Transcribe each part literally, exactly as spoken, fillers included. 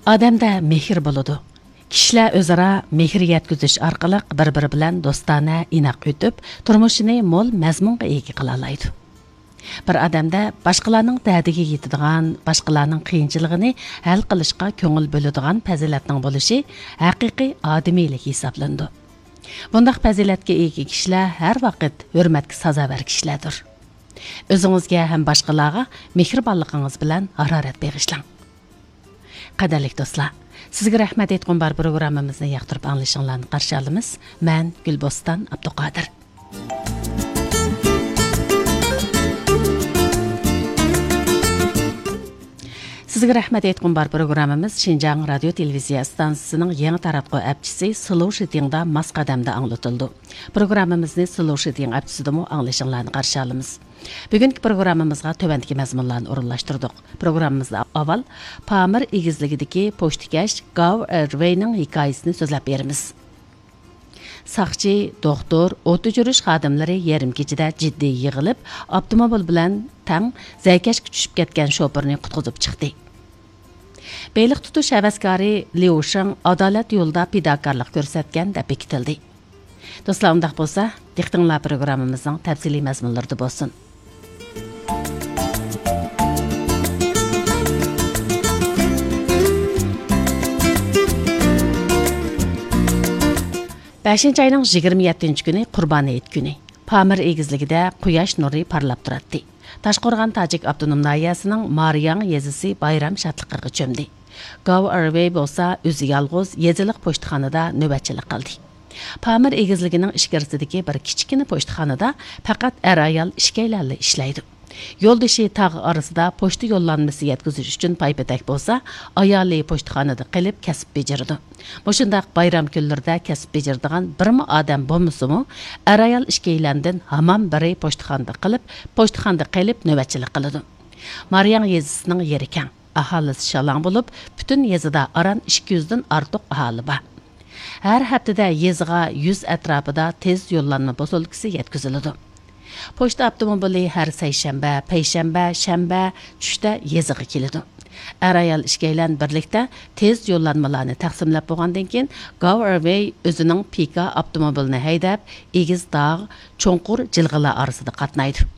ئادەمدە مېھىر بولىدۇ. كىشىلەر ئۆزئارا مېھىر يەتكۈزۈش ئارقىلىق بىر-بىرى بىلەن دوستانە، ئىناق ئۆتۈپ، تۇرمۇشىنى مول مەزمۇنغا ئىگە قىلالايدۇ. بىر ئادەمدە باشقىلارنىڭ دەردىگە يېتىدىغان، باشقىلارنىڭ قىيىنچىلىقىنى ھەل قىلىشقا كۆڭۈل بۆلىدىغان پەزىلەتنىڭ بولۇشى ھەقىقىي ئادىمىيلىك ھېسابلىنىدۇ. بۇنداق پەزىلەتكە ئىگە كىشىلەر ھەر ۋاقىت ھۆرمەتكە سازاۋەر كىشىلەردۇر. ئۆزىڭىزگە ھەم باشقىلارغا مېھرىبانلىقىڭىز بىلەن ھارارەت بېغىشلاڭ. قەدىرلىك دوستلار، سىزگە رەھمەت ئېيتقۇم بار پروگراممىمىزنى ياقتۇرۇپ ئاڭلىشىڭلارنى قارشى ئالىمىز. مەن گۈلبوستان ئابدۇقادىر. سىزگە رەھمەت ئېيتقۇم بار پروگراممىمىز شىنجاڭ رادىيو تېلېۋىزىيە ئىستانسىسىنىڭ يېڭى تاراتقۇ ئەپچىسى سلوشىتىڭدا ماس قەدەمدە ئاڭلىتىلىدۇ. پروگراممىمىزنى سلوشىتىڭ ئەپچىسىدىمۇ ئاڭلىشىڭلارنى قارشى ئالىمىز. بۈگۈنكى پروگراممىمىزغا تۆۋەندىكى مەزمۇنلارنى ئورۇنلاشتۇردۇق. پروگراممىمىزدا ئاۋۋال پامىر ئېگىزلىكىدىكى پوچتىكەش گاۋ ئېرۋېينىڭ ھېكايىسىنى سۆزلەپ بېرىمىز. ساقچى، دوختۇر، ئوت ئۆچۈرۈش خادىملىرى يېرىم كېچىدە جىددىي يىغىلىپ، ئاپتوموبىل بىلەن تەڭ زەيكەشكە چۈشۈپ كەتكەن شوپۇرنى قۇتقۇزۇپ چىقتى. بېلىق تۇتۇش ھەۋەسكارى ليۇ شېڭ ئادالەت يولىدا پىداكارلىق كۆرسەتكەن دەپ بېكىتىلدى. دوستلار، ئۇنداق بولسا، دىققىتىڭلار پروگراممىمىزنىڭ تەپسىلىي مەزمۇنلىرىدا بولسۇن. بەشىنچى ئاينىڭ يىگىرمە يەتتىنچى كۈنى قۇربان ھېيت كۈنى. پامىر ئېگىزلىكىدە قۇياش نۇرى پارلاپ تۇراتتى. تاشقورغان تاجىك ئاپتونوم ناھىيەسىنىڭ مارىياڭ يېزىسى بايرام شادلىقىغا چۆمدى. گاۋ ئېرۋېي بولسا ئۆزى يالغۇز يېزىلىق پوچتىخانىدا نۆۋەتچىلىك قىلدى. پامىر ئېگىزلىكىنىڭ ئىچكىرىسىدىكى بىر كىچىككىنە پوچتىخانىدا پەقەت ئەر-ئايال ئىككىيلەنلا ئىشلەيدۇ. يولدىشى تاغ ئارىسىدا پوچتا يوللانمىسى يەتكۈزۈش ئۈچۈن پايپېتەك بولسا، ئايالى پوچتىخانىدا قېلىپ كەسىپ بېجىرىدۇ. مۇشۇنداق بايرام كۈنلىرىدە كەسىپ بېجىرىدىغان بىرمۇ ئادەم بولمىسىمۇ، ئەر-ئايال ئىككىيلەندىن ھامان بىرى پوچتىخانىدا قېلىپ، پوچتىخانىدا قېلىپ نۆۋەتچىلىك قىلىدۇ. مارىياڭ يېزىسىنىڭ يېرى كەڭ، ئاھالىسى شالاڭ بولۇپ، پۈتۈن يېزىدا ئاران ئىككى يۈزدىن ئارتۇق ئاھالى بار. ھەر ھەپتىدە يېزىغا يۈز ئەتراپىدا تېز يوللانما پوسۇلكىسى يەتكۈزۈلىدۇ. پوچتا ئاپتوموبىلى ھەر سەيشەنبە، پەيشەنبە، شەنبە چۈشتە يېزىغا كېلىدۇ. ئەر-ئايال ئىككىيلەن بىرلىكتە تېز يوللانمىلارنى تەقسىملەپ بولغاندىن كېيىن، گاۋ ئېرۋېي ئۆزىنىڭ پىكا ئاپتوموبىلىنى ھەيدەپ، ئېگىز تاغ، چوڭقۇر جىلغىلار ئارىسىدا قاتنايدۇ.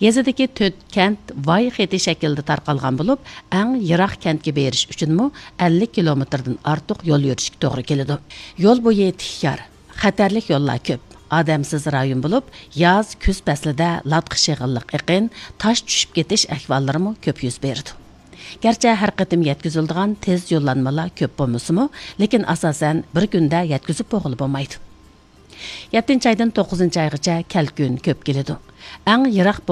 يېزىدىكى تۆت كەنت ۋاي خېتى شەكلىدە تارقالغان بولۇپ، ئەڭ يىراق كەنتكە بېرىش ئۈچۈنمۇ ئەللىك كىلومېتىردىن ئارتۇق يول يۈرۈشكە توغرا كېلىدۇ. يول بويى تىك يار، خەتەرلىك يوللار كۆپ، ئادەمسىز رايون بولۇپ، ياز، كۈز پەسلىدە لاتا شېغىللىق ئېقىن، تاش چۈشۈپ كېتىش ئەھۋاللىرىمۇ كۆپ يۈز بېرىدۇ. گەرچە ھەر قېتىم يەتكۈزۈلىدىغان تېز يوللانمىلار كۆپ بولمىسىمۇ، لېكىن ئاساسەن بىر كۈندە يەتكۈزۈپ بولغىلى بولمايدۇ. يەتتىنچى ئايدىن توققۇزىنچى ئايغىچە كەلكۈن كۆپ كېلىدۇ. ئەڭ يىراق